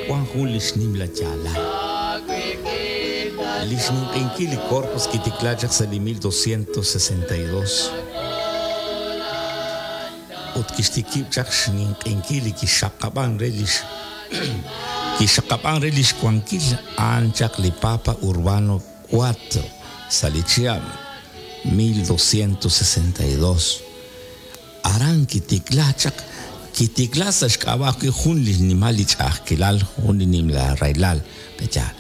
Wan jun li xnimla yaalal. Li xninq'ehinkil li Corpus kitikla chaq sa' li 1262 ut kixtikib' chaq xninq'ehinkil li kixxaqab'an re lix kixxaqab'an re lix wankil a'an chaq li Papa Urbano IV sa' li chihab' 1262. Aran kitikla chaq, kitikla sa' xk'ab'a' ajwi' jun li xnimal li ch'a'ajkilal, jun li nimla rahilal, pe'yaal?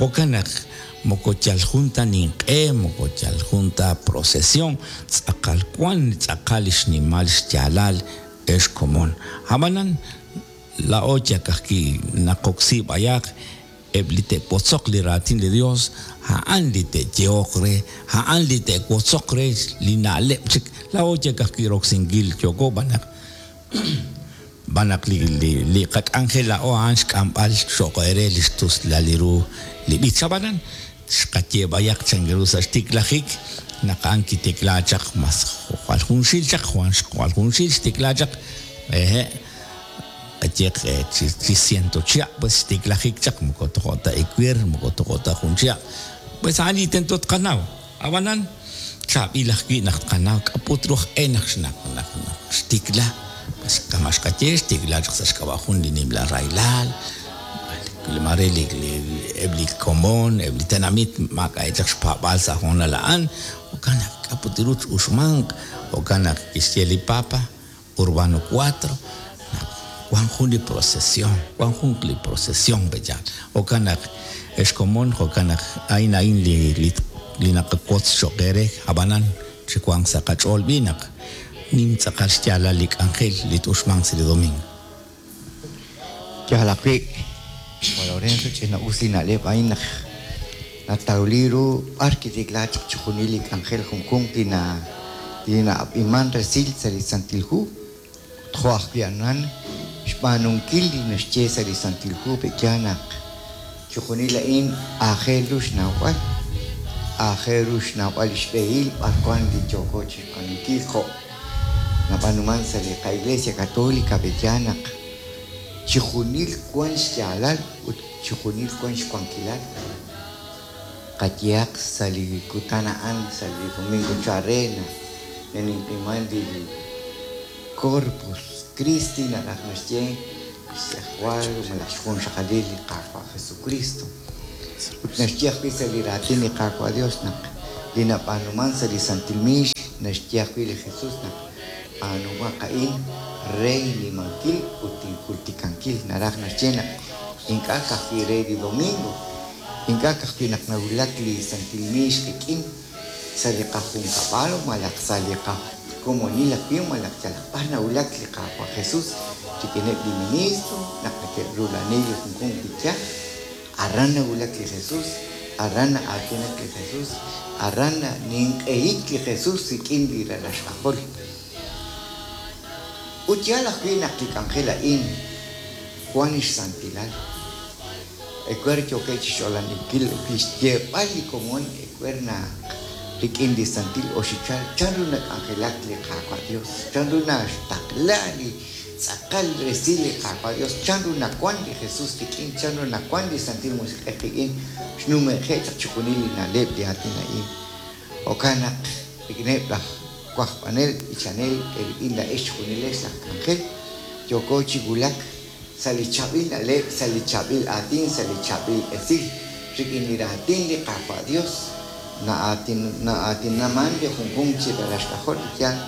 Jo'kan naq moko yal jun ta ninq'e, moko yal jun ta procesión, tz'aqal wan tz'aqal li xnimal xyaalal ex komon. Ab'anan, laa'o yak ajwi' naqoksi b'ayaq Eb' li te'wotzoq li raatin li Dios, a'an li te'yehoq re, a'an li te'wotzoq re li na'leb' chik. Laa'o yal ka'ajwi' roksinkil yooko b'an naq b'an naq li li li qak'anjel laa'o a'an xk'amb'al cho'q eere li xtuslal li ru li b'ich. Ab'anan, xqaye b'ayaq chan ru sa' xtiklajik naq a'an kitikla chaq mas jwal junxil chaq, jwal junxil xtikla chaq, hehe'. Qayehaq chi ciento chihab' pues xtiklajik chaq moko tojo' ta ewer, moko tojo' ta jun chihab'. Pues a'an li tento tqanaw. Ab'anan chaab'il ajwi' naq tqanaw k'a' put ru aj e naq naq naq xtikla. Pues kama' xqaye xtikla chaq sa' xk'ab'a' jun li nimla rahilal, mare li eb' li komon, eb' li tenamit maak'a'eb' chaq xpaab'aal sa' hoonal a'an, jo'kan naq k'a' put ru t-uxmanq, jo'kan naq kixye li Papa, Urbano Cuatro, naq wan jun li procesión, wan jun li procesión pe'yaal. Jo'kan naq, ex komon, jo'kan naq a'in a'in li li li naqawotz cho'q eere, ab'anan chiwanq sa' qach'ool b'i' naq nim tz'aqal xyaalal li k'anjel li t-uxmanq sa' li domingo. Yaal ajwi', Juan Lorenzo, ch'ina-us li na'leb' a'in naq natawli ru b'ar kitikla chaq chixjunil li k'anjel junjunq li na li na'ab'iman resil sa' li Santil Hu, ut jo' ajwi' a'an xb'aanunkil li naxye sa' li Santil Hu pe'yaal naq chixjunil a'in aajel ru xnawb'al, aajel ru xnawb'al li xb'ehil b'ar wan li yooko chixb'aanunkil jo' Nab'aanuman sa' li qa-Iglesia Catolica pe'yaal naq chijunil wan xyaalal ut chijunil wan xwankilal. Qayehaq sa' li kutan a'an sa' li domingo chal re naq naninqiman li Corpus Christi naraj naxye xtz'ejwal malaj xjunxaqalil li Qaawa' Jesukristo. Ut naxye ajwi' sa' li raatin li Qaawa' Dios naq li nab'aanuman sa' li santil miix naxye ajwi' li Jesus naq b'aanumaq a'in re innimankil ut injultikankil naraj naxye naq ink'a' ka'ajwi' re li domingo, ink'a' ka'ajwi' naq nawulak li santil miix qik'in sa' li qajunkab'al malaj sa' li qakomonil ajwi' malaj yalaq b'ar nawulak li Qaawa' Jesus rik'ineb' li ministro naq neke'rula'ani li junjunq li yaj. Aran nawulak li Jesus, aran na'aatinak li Jesus, aran naninq'ehik li Jesus rik'in li ralal xk'ajol. Ut yaal ajwi' naq li k'anjel a'in wan xsantilal. Ewer yookeb' chi xch'olaninkil li xyeeb'al li komon ewer naq rik'in li santil oxichal chanru nak'anjelak li Qaawa' Dios, chanru naxtaqla li Tz'aqal resil li Qaawa' Dios, chanru nawan li Jesus qik'in, chanru nawan li Santil Musiq'ej qik'in, xnume'je' chaq chixjunil li na'leb' li aatin a'in. Jo'kan naq rik'ineb' laj wajb'anel b'ichanel eerik'in laa'ex chixjunilex laj k'anjel, yooko chi wulak sa' li chaab'il na'leb', sa' li chaab'il aatin, sa' li chaab'il esil, rik'in li raatin li Qaawa' Dios. Na'aatinaman li junjunq chi ralal xk'ajol li yaal.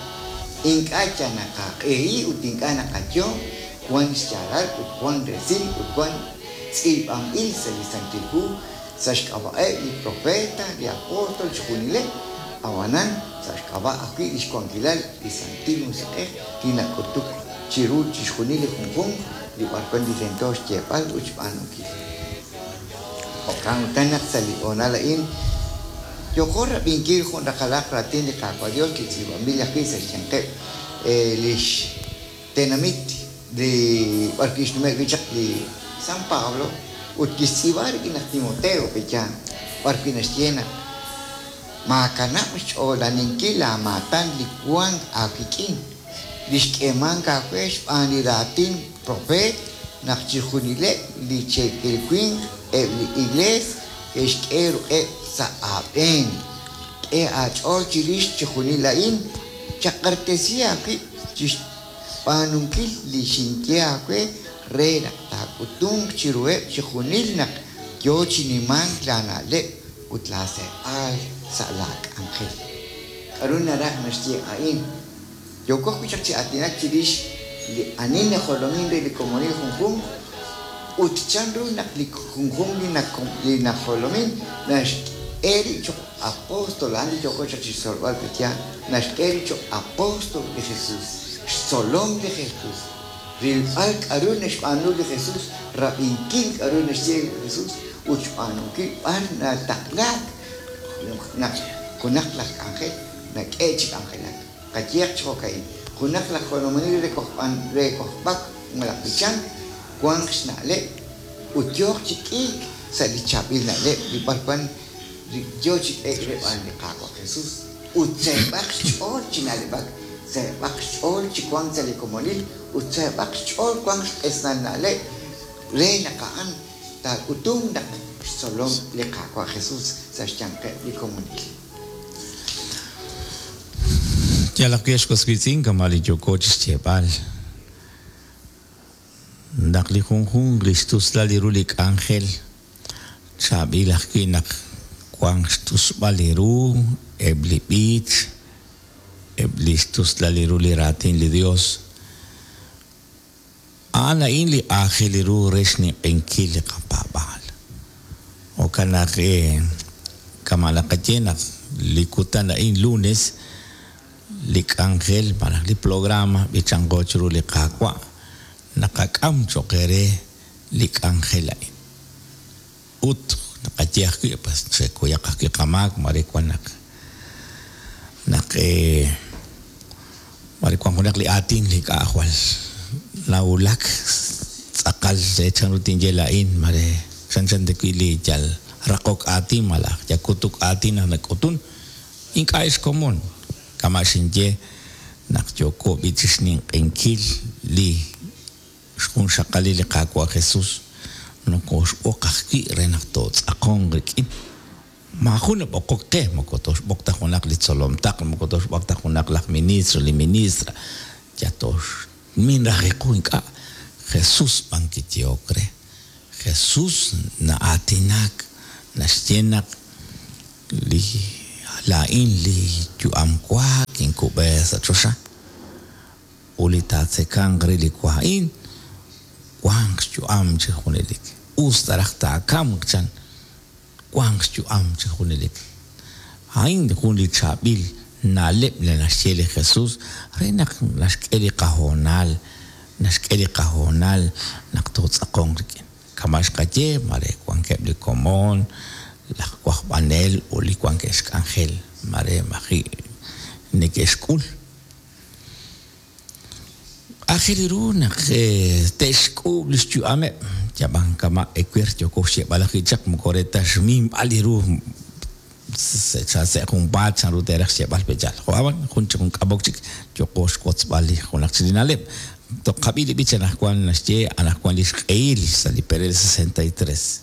Ink'a' yal naqaq'ehi ut ink'a' naqayo, wan xyaalal ut wan resil ut wan tz'iib'anb'il sa' li Santil Hu sa' xk'ab'a'eb' li profeet, li apostol, chixjunileb', ab'anan sa' xk'ab'a' ajwi' lix wankilal li Santil Musiq'ej li nak'utuk chiru chixjunil li junjunq li b'arwan li tento xyeeb'al ut xb'aanunkil. Jo'kan utan naq sa' li hoonal a'in yooqo rab'inkil jun raqalaq raatin li Qaawa' Dios li tz'iib'anb'il ajwi' sa' xyanqeb' lix tenamit li b'ar wi' xnume' wi' chaq li San Pablo ut kixtz'iib'a rik'in laj Timoteo pe'yaal b'ar wi' naxye naq maakanab' xch'oolaninkil laamaatan li wank aawik'in li xk'eemank aawe xb'aan li raatin profeet naq chixjunileb' li cheekel winq eb' li Iklees ke'xk'e ruq'eb' sa' aab'een. K'e aach'ool chirix chixjunil a'in, chaq'axtesi aawib' chi xb'aanunkil li xinye aawe re naq taak'utunq chiruheb' chixjunil naq yo chi nimank laana'leb' ut laaseeb'al sa' laak'anjel. K'aru naraj naxye a'in? Yooko ajwi' chaq chi aatinak chirix li ani najolomin re li komonil junjunq ut chanru naq li junjunq li najolomin naxk'e rib' cho'q apóstol, a'an li yooko chaq chi xtzolb'al pe'yaal, naxk'e rib' cho'q apóstol li Jesús, xtzolom li Jesús, rilb'al k'aru naxb'aanu li Jesús, rab'inkil k'aru naxye li Jesús ut xb'aanunkil b'ar nataqlaak naq junaq laj k'anjel nak'e chi k'anjelak. Qayehaq chi jo'ka'in, junaq laj jolominel re re kojb'ak malaj b'ichank wanq xna'leb' ut yooq chi k'iik sa' li chaab'il na'leb' li b'arwan yo chi k'eek re b'aan li Qaawa' Jesús ut seeb'aq xch'ool chi na'leb'ak, seeb'aq xch'ool chi wank sa' li komonil ut seeb'aq xch'ool wanq xq'esnal na'leb' re naq a'an taak'utunq naq xtzolom li Qaawa' Jesús sa' xyanqeb' li komonil. Yal ajwi' ex was wiitz'in kama' li yooko chi xyeeb'al naq li junjunq li xtuslal li ru li k'anjel chaab'il ajwi' naq wanq xtusb'al li ru eb' li b'ich, eb' li xtuslal li ru li raatin li Dios. A'an a'in li aajel ru re xninq'ehinkil li qapaab'aal. Jo'kan naq kama' naqaye naq li kutan a'in lunes li k'anjel malaj li programa b'ichanqo chiru li Qaawa' naqak'am cho'q eere li k'anjel a'in. Ut naqaye ajwi' pues chekuyaq ajwi' qamaak mare wan naq naq mare wan junaq li aatin li ink'a' jwal nawulak tz'aqal re chanru tinye laa'in mare chanchan ta wi' li yal raqok aatin malaj yal kutuk aatin naq nak'utun ink'a' xkomon kama' xinye naq yooko b'i' chi xninq'ehinkil li xjunxaqalil li Qaawa' Jesús nokooxb'oq ajwi' re naq tootz'aqonq rik'in. Maajun nab'oqok qe, moko tooxb'oq ta junaq li tzolom taql, moko tooxb'oq ta junaq laj ministro, li ministra, yal tooxmin raj qu ink'a'. Jesús b'an kiyehok re. Jesús na'aatinak, naxye naq li laa'in li yu'am wa kinkub'e sa' choxa. Ut li taatzekanq re li wa a'in, wanq xyu'am chi junelik. Us ta raj taakamq, chan, wanq xyu'am chi junelik. A'in jun li chaab'il na'leb' li naxye li Jesús re naq naxk'e li qahoonal, naxk'e li qahoonal naq tootz'aqonq rik'in. Kama' xqaye, mare wankeb' li komon, laj wajb'anel ut li wankeb' xk'anjel, mare maji' neke'xk'ul. Aajel ru naq te'xk'uub' li xyu'ameb', yab'an kama' ewer yooko xyeeb'al ajwi' chaq moko re ta xminb'al li ru sa' junpaat chanru te'raj xyeeb'al pe'yaal. Jo' ab'an jun chik jun k'amok chik yooqo xwotzb'al li junaq chik li na'leb'. Toqab'i li b'ich anaqwan naxye anaqwan li xq'ehil sa' li perel 63.